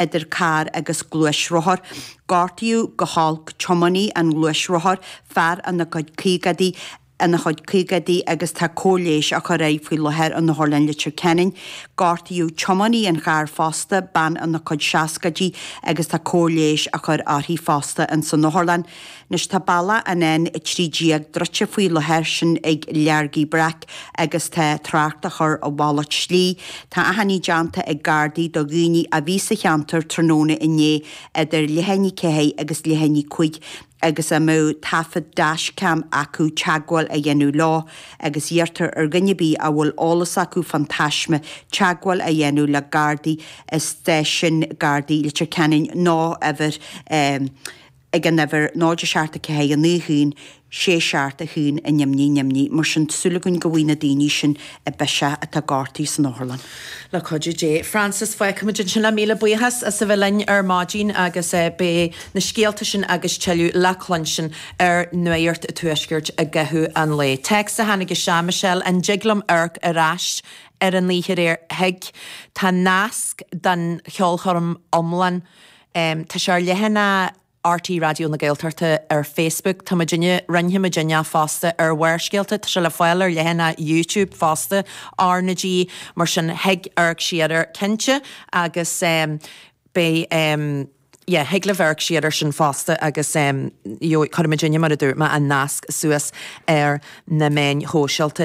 Idir carr agus gluaisrothar. Gortaíodh go holc tiománaí an ghluaisrothair, fear ina chuid caogaidí, ina chuid caogaidí agus tá cóir leighis á chur air faoi láthair in Otharlann Leitir Ceanainn. Gortaíodh tiománaí an chairr fosta, bean ina cuid seascaidí agus tá cóir leighis á chur uirthi fosta ins an otharlann. Anois tá bealach an N13 druidte faoi láthair, sin ag Leargaí Breac agus tá trácht á chur a mhalairt slí. Tá achainí déanta ag Gardaí do dhaoine a bhí sa cheantar tráthnóna inné idir leath i ndiaidh a 4 agus leath i ndiaidh 5 agus a mbeadh taifead dashcam acu teagmháil a dhéanamh leo agus iarrtar ar dhuine ar bith a bhfuil eolas acu fán taisme teagmháil a dhéanamh le Gardaí i stáisiún Gardaí Leitir Ceanainn nó uimhir ag an uimhir 0 7 4 9 1 6 7 1 0 0. Mar sin, súil againn go bhfaighidh na daoine sin biseach atá gortaithe san otharlann. Le cuidiú Dé. Frances, fágfaimid ansin le míle buíochas as a bheith linn ar maidin agus beidh na scéalta sin agus tuilleadh le cluinstin ar Nuacht an Tuaiscirt i gcaitheamh an lae. Téacs a tháinig isteach, Michelle, an dtig liom amharc ar ais ar an oíche aréir? Thig. Tá nasc don cheolchoirm iomlán Tá sé ar leathanach RTÉ Raidió na Gaeltachta ar Facebook. Tá muidinne, roinnfidh muidinne é fosta ar Bharrscéalta. Tá sé le fáil ar leathanach YouTube fosta, RnaG. Mar sin, thig amharc siar air cinnte agus beidh, yeah, thig libh amharc siar air sin fosta agus gheobhaidh, cuirfidh muidinne, mar a dúirt mé, an nasc suas ar na meáin shóisialta.